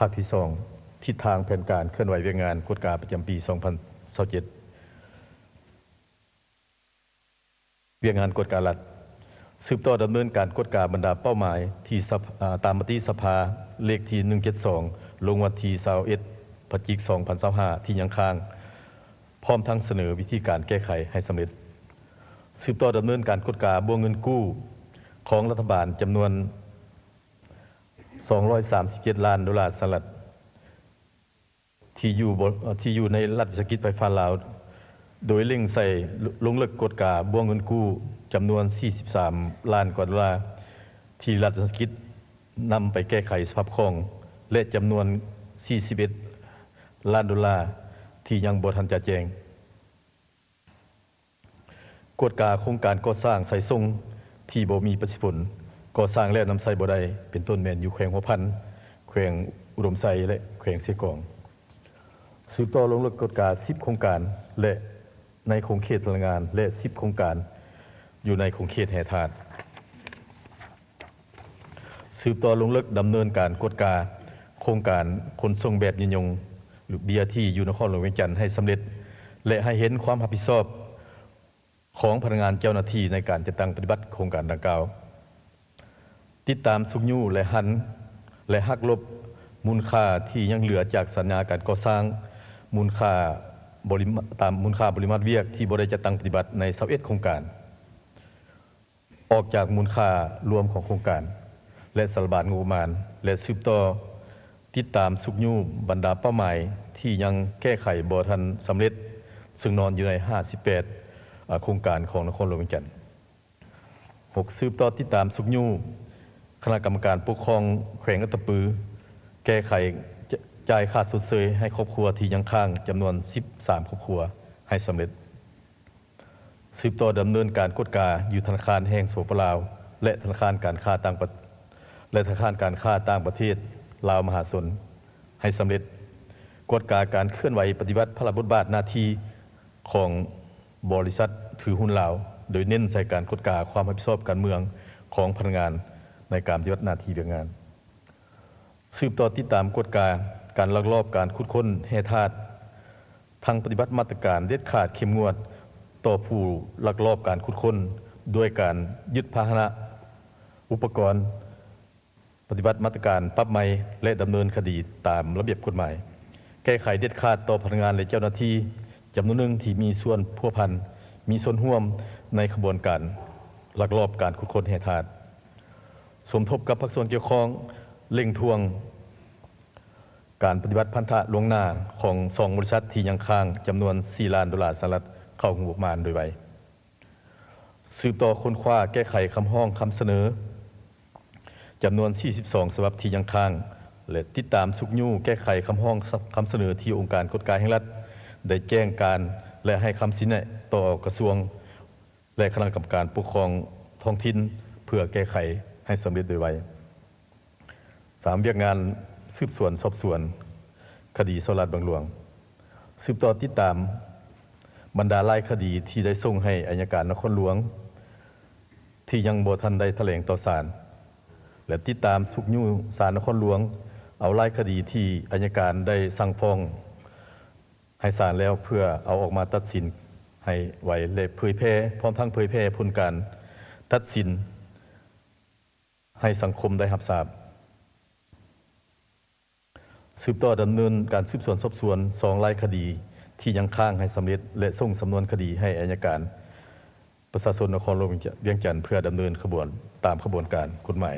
າກທີສອງ ທິດທາງແຜນການເຄື່ອນໄຫວວຽກງານກວດກາປະຈຳປີສອງພັນຊາວເຈັດ. ວຽກງານກວດກາລັດ ສືບຕໍ່ດຳເນີນການກວດກາບັນດາເປົ້າໝາຍທີ່ສະ ອາ ຕາມມະຕິສະພາເລກທີໜຶ່ງເຈັດສອງ ລົງວັນທີຊາວເອັດ ພະຈິກ ສອງພັນຊາວຫ້າ ທີ່ຍັງຄ້າງ, ພ້ອມທັງສະເໜີວິທີການແກ້ໄຂໃຫ້ສຳເລັດ. ສືບຕໍ່ດຳເນີນການກວດກາບົວເງິນກູ້ຂອງລັດຖະບານຈຳນວນສອງຮ້ອຍສາມສິບເຈັດລ້ານໂດລາສະຫະລັດ ທີ່ຢູ່ ທີ່ຢູ່ໃນລັດວິສາຫະກິດໄຟຟ້າລາວ, ໂດຍເລັ່ງໃສ່ ລົງເລິກກວດກາບົວເງິນກູ້ຈຳນວນສີ່ສິບສາມລ້ານກວ່າໂດລາ ທີ່ລັດວິສາຫະກິດນຳໄປແກ້ໄຂສະພາບຄ່ອງ ແລະ ຈຳນວນສີ່ສິບເອັດລ້ານໂດລາ ທີ່ຍັງບໍ່ທັນຈະແຈ້ງ. ກວດກາໂຄງການກໍ່ສ້າງສາຍສົ່ງທີ່ບໍ່ມີປະສິດຜົນ, ກໍ່ສ້າງແລ້ວນຳໃຊ້ບໍ່ໄດ້, ເປັນຕົ້ນແມ່ນຢູ່ແຂວງຫົວພັນ, ແຂວງອຸດົມໄຊ ແລະ ແຂວງເຊກອງ. ສືບຕໍ່ລົງເລິກກວດກາສິບໂຄງການ ແລະ ໃນຂົງເຂດພະລັງງານ ແລະ ສິບໂຄງການຢູ່ໃນຂົງເຂດແຮ່ທາດ. ສືບຕໍ່ລົງເລິກດຳເນີນການກວດກາໂຄງການຂົນສົ່ງແບບຍືນຍົງ ຫຼື ບີອາທີ ຢູ່ນະຄອນຫຼວງວຽງຈັນໃຫ້ສຳເລັດ ແລະ ໃຫ້ເຫັນຄວາມຮັບຜິດຊອບຂອງພະນັກງານເຈົ້າໜ້າທີ່ໃນການຈັດຕັ້ງປະຕິບັດໂຄງການດັ່ງກ່າວ. ຕິດຕາມຊຸກຍູ້ ແລະ ຫັນ ແລະ ຫັກລົບມູນຄ່າທີ່ຍັງເຫຼືອຈາກສັນຍາການກໍ່ສ້າງ, ມູນຄ່າບໍລິມາ ຕາມມູນຄ່າບໍລິມາດວຽກທີ່ບໍ່ໄດ້ຈັດຕັ້ງປະຕິບັດໃນຊາວເອັດໂຄງການ ອອກຈາກມູນຄ່າລວມຂອງໂຄງການ ແລະ ສາລະບານງົບປະມານ ແລະ ສືບຕໍ່ຕິດຕາມຊຸກຍູ້ບັນດາເປົ້າໝາຍທີ່ຍັງແກ້ໄຂບໍ່ທັນສຳເລັດ ເຊິ່ງນອນຢູ່ໃນຫ້າສິບແປດ ອາ ໂຄງການຂອງນະຄອນຫຼວງວຽງຈັນ. ຫົກ ສືບຕໍ່ຕິດຕາມຊຸກຍູ້ຄະນະກຳມະການປົກຄອງແຂວງອັດຕະປື ແກ້ໄຂ ຈ- ຈ່າຍຄ່າຊົດເຊີຍໃຫ້ຄອບຄົວທີ່ຍັງຄ້າງຈຳນວນສິບສາມຄອບຄົວໃຫ້ສຳເລັດ. ສືບຕໍ່ດຳເນີນການກວດກາຢູ່ທະນາຄານແຫ່ງ ສປປ ລາວ ແລະ ທະນາຄານການຄ້າຕ່າງປະ ແລະ ທະນາຄານການຄ້າຕ່າງປະເທດລາວມະຫາຊົນໃຫ້ສຳເລັດ. ກວດກາການເຄື່ອນໄຫວປະຕິບັດພາລະບົດບາດໜ້າທີ່ຂອງບໍລິສັດຖືຫຸ້ນລາວ, ໂດຍເນັ້ນໃສ່ການກວດກາຄວາມຮັບຜິດຊອບການເມືອງຂອງພະນັກງານໃນການປະຕິບັດໜ້າທີ່ວຽກງານ. ສືບຕໍ່ຕິດຕາມກວດກາການລັກລອບການຂຸດຄົ້ນແຮ່ທາດ, ທັງປະຕິບັດມາດຕະການເດັດຂາດເຂັ້ມງວດຕໍ່ຜູ້ລັກລອບການຂຸດຄົ້ນ ດ້ວຍການຍຶດພາຫະນະ, ອຸປະກອນ, ປະຕິບັດມາດຕະການປັບໃໝ ແລະ ດຳເນີນຄະດີຕາມລະບຽບກົດໝາຍ, ແກ້ໄຂເດັດຂາດຕໍ່ພະນັກງານ ແລະ ເຈົ້າໜ້າທີ່ຈຳນວນໜຶ່ງທີ່ມີສ່ວນພົວພັນ, ມີສ່ວນຮ່ວມໃນຂະບວນການລັກລອບການຂຸດຄົ້ນແຮ່ທາດ. ສົມທົບກັບພາກສ່ວນກ່ຽວຂ້ອງ ເລັ່ງທວງການປະຕິບັດພັນທະລ່ວງໜ້າຂອງສອງບໍລິສັດທີ່ຍັງຄ້າງຈຳນວນສີ່ລ້ານໂດລາສະຫະລັດເຂົ້າງົບປະມານໂດຍໄວ. ສືບຕໍ່ຄົ້ນຄວ້າແກ້ໄຂຄຳຮ້ອງຄຳສະເໜີຈຳນວນສີ່ສິບສອງສະບັບທີ່ຍັງຄ້າງ ແລະ ຕິດຕາມຊຸກຍູ້ແກ້ໄຂຄຳຮ້ອງຄຳສະເໜີທີ່ອົງການກວດກາແຫ່ງລັດໄດ້ແຈ້ງການ ແລະ ໃຫ້ຄຳຊີ້ແນະຕໍ່ກະຊວງ ແລະ ຄະນະກຳມະການປົກຄອງທ້ອງຖິ່ນ ເພື່ອແກ້ໄຂໃຫ້ສຳເລັດໂດຍໄວ. ສາມ ວຽກງານສືບສວນສອບສວນຄະດີສໍ້ລາດບັງຫຼວງ. ສືບຕໍ່ຕິດຕາມບັນດາລາຍຄະດີທີ່ໄດ້ສົ່ງໃຫ້ໄອຍະການນະຄອນຫຼວງ ທີ່ຍັງບໍ່ທັນໄດ້ຖະແຫຼງຕໍ່ສານ ແລະ ຕິດຕາມຊຸກຍູ້ສານນະຄອນຫຼວງເອົາລາຍຄະດີທີ່ໄອຍະການໄດ້ສັ່ງຟ້ອງ ໃຫ້ສານແລ້ວ ເພື່ອເອົາອອກມາຕັດສິນໃຫ້ໄວ ແລະ ເຜີຍແຜ່ ພ້ອມທັງເຜີຍແຜ່ຜົນການຕັດສິນໃຫ້ສັງຄົມໄດ້ຮັບຊາບ. ສືບຕໍ່ດຳເນີນການສືບສວນສອບສວນສອງລາຍຄະດີທີ່ຍັງຄ້າງໃຫ້ສຳເລັດ ແລະ ສົ່ງສຳນວນຄະດີໃຫ້ໄອຍະການ ປະຊາຊົນນະຄອນຫຼວງວຽງຈັນ ເພື່ອດຳເນີນຂະບວນຕາມຂະບວນການກົດໝາຍ.